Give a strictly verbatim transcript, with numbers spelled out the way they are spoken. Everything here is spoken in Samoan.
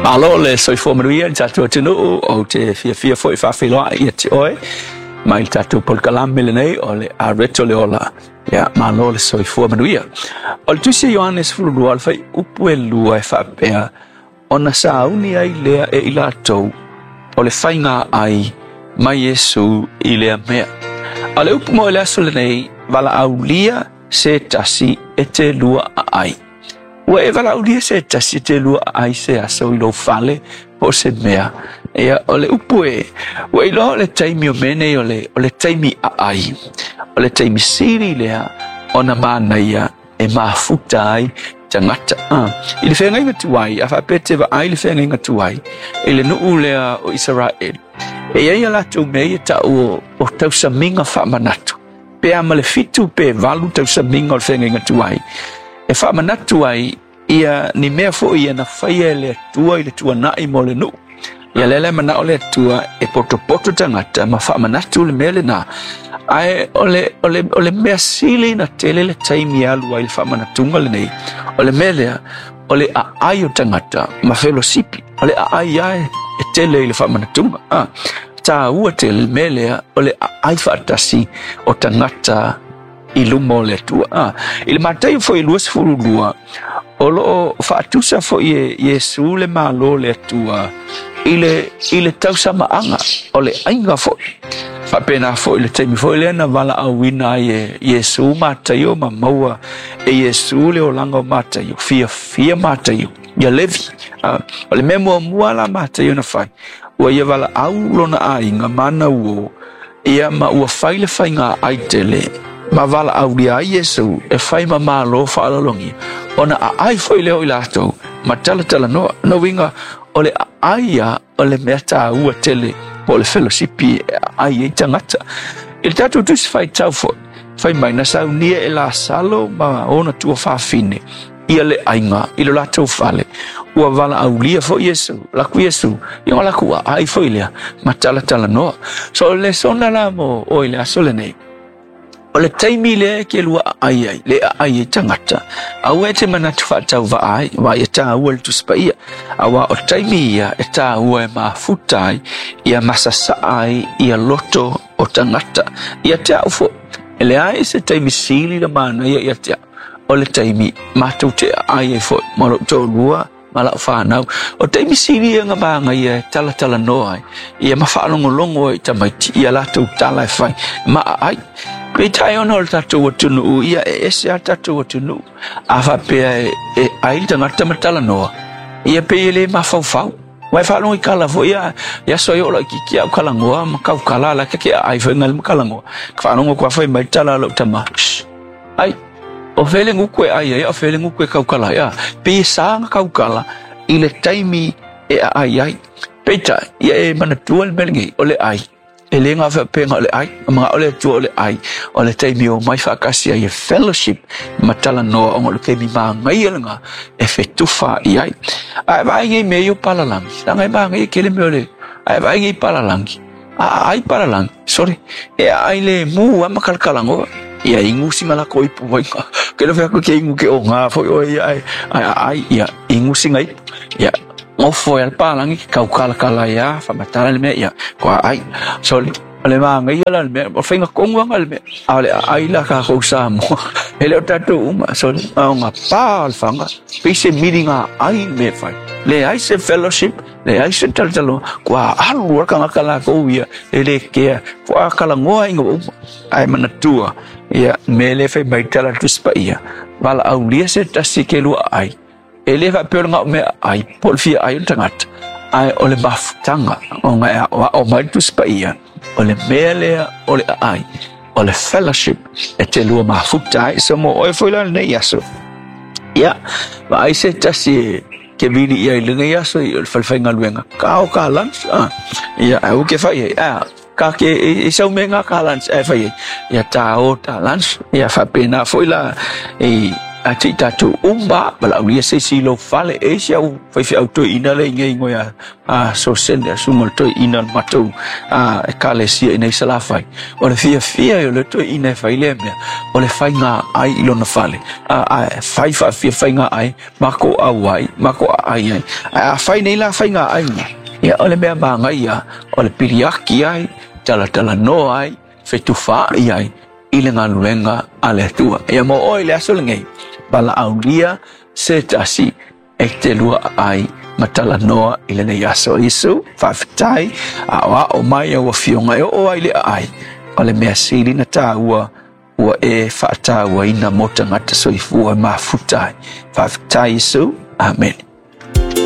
Malo le soifua manuia i le tatou atunuu. Ou te fiafia foi e faafeiloai ia te oe mai le tatou polokalame lenei o le Areto le Ola. Ia, malo le soifua manuia. O le tusi a Ioane sefululua, o le fuaiupu e lua e faapea, ona sauni ai lea e i latou o le faiga ai mai Iesu i lea mea. A o le upu mo le aso lenei, valaaulia se tasi e te lua aai. Ua e valaaulia se tasi e te lua aai se aso i lou fale po o se mea. Ia, o le upu e, ua iloa o le taimi o mea nei o le, o le taimi aai. O le taimi sili lea ona manaia e mafuta ai tagata. Ah, i le feagaiga tuai, a faapea e te vaai i le feagaiga tuai, i le nuu lea o Isaraelu, e i ai a latou mea ia tau o, o tausamiga faamanatu. Pe a ma le fitu pe valu tausamiga o le feagaiga tuai, e faamanatu ai ia ni mea foi ia na faia e le Atua i le tuanai mo le nuu. Ia lea la e manao le Atua e potopoto tagata ma faamanatu le mea lena. Ae o le, o le, o le mea sili na tele le taimi e alu ai le faamanatuga lenei, o le mea lea, o le aai o tagata ma felosipi. O le aai lava e tele i le faamanatuga. Ah, taua tele le mea lea o le aai faatasi o tagata i luma o le Atua. Ah, i le Mataio foi luasefulu lua, o loo faatusa foi e Iesu le Malo o le Atua i le, i le tausamaaga o le aiga foi. Faapena foi le taimi foi lea na valaauina ai e Iesu Mataio ma maua e Iesu le olaga o Mataio, fiafia Mataio, ia Levi. Ah, o le mea muamua la Mataio na fai, ua ia valaau lona aiga ma ana uo, ia ma ua fai le faiga ai tele, ma valaaulia ai Iesu e fai ma malo faaaloalogia, ona aai foi lea o i latou, ma talatalanoa. No uiga, o le aai ia o le mea taua tele, po o le felosipi e aai ai tagata. I le tatou tusi faitau foi, fai mai na saunia e Lasalo ma ona tuafafine ia le aiga i lo latou fale. Ua valaaulia foi Iesu, laku Iesu, ia o laku aai foi lea, ma talatalanoa. So o le lesona la mo oe i le aso lenei, o le taimi lea e ke lua aai ai, le aai ai tagata, aua e te manatu faatauvaa ai, aua ia taua le Tusi Paia, aua o taimi ia e taua e mafuta ai, ia masasaa ai ia loto o tagata. Ia te au foi, e leai se taimi sili le manaia ia te au, o le taimi matou te aai ai foi, ma lou toalua, ma lau fanau. O taimi sili ia nga manaia e talatalanoa ai, ia ma faalogologo ai i tamaiti, ia latou tala e fai, ma aai. Peitai ona o le tatou atunuu, ia e ese lava le tatou atunuu. A faapea e, e ai le tagata ma talanoa, ia pei e le mafaufau. Aua e faalogo i kala foi ia, i aso ai o laitiiti au kalagoa ma kaukala la ke ke aai foi ngai ma kalagoa. Ka faalogo atu foi mai tala a lou tama. Shh. Ai, o fea le guku e ai ai, o fea le guku e kaukala ai. A, pei e sa na kaukala i le taimi e aai ai. Peitai, ia e manatua le mea lenei, o le ai. E le ngā faapea o le ai, ma o le Atua o le ai, o le taimi o mai faatasi ai e fellowship ma talanoa ona o le taimi manaia lena e fetufa i ai. A e vaai nei mea ia o palalangi, leaga e manaia tele mea o le, a e vaai nei palalangi, a aai palalangi, sorry, e aai le mu lava ma kalakalanoa. Ia inu sina lako ipu mai ka. Ke lofe atu ke inu ke o ngā foi oe ia ai, ai aai, ia inu sina ipu. Ia, ngofo e le pālangi, ke kaukalakala ia, whamatara le mea, ia, ko aai. Sorry, o le manaia la le mea, o whainga kongu anga le mea, a o le aai la ka kou Samoa. E le o tātou uma, sorry, a o ngā pā o le whanga, pei se miri ngā ai le mea whai. Le ai se fellowship, le ai se talataloa, kua alu a kangaka lākou ia, e le kea, kua kalangoa inga uma. Ae manatua, ia, me le fai mai tala Tusi Paia, valaaulia se tasi ke lua ai. E le faapea o le gao mea ai, po o le fia ai o le tagata, ae o le mafutaga ona e aoao mai le Tusi Paia, o le mea lea o le aai, o le fellowship e te lua mafuta ai. So mo oe foi la lenei aso, ia, vaai se tasi e ke vili ia i lenei aso i o le falefaigaluega, ka ao ka lunch, ah, ia, ae ua ke fai ai, ah, ka ke e, e sau me ngā ka lunch, ae fai ai, ia tā o tā lunch, ia faapena foi la e A te i tātou umba, valaaulia se isi i lou fale, e isi au faifeau toeaina le i ngei a, a sosene a suga o le toeaina o le matou a, ekalesia i nei Salafai. O le fiafia o le toeaina e fai lea mea, o le faiga ai i lona fale. A, a fai faafia faiga ai, mako au ai, mako ai ai. A, a fai nei la faiga ai na. Ia o le mea magaia, o le piliaki ai, talatalanoa ai, fetufaai ai, i le galuega a le Atua. Ia mo oe le aso lenei, valaaulia se tasi e te lua ai ma talanoa i lenei aso. Iesu, faafetai, aoao mai au afioga e oo ai le aai. O le mea sili na tāua, ua e faatauaina mo tagata soifua e mafuta ai. Faafetai Iesu. Amen.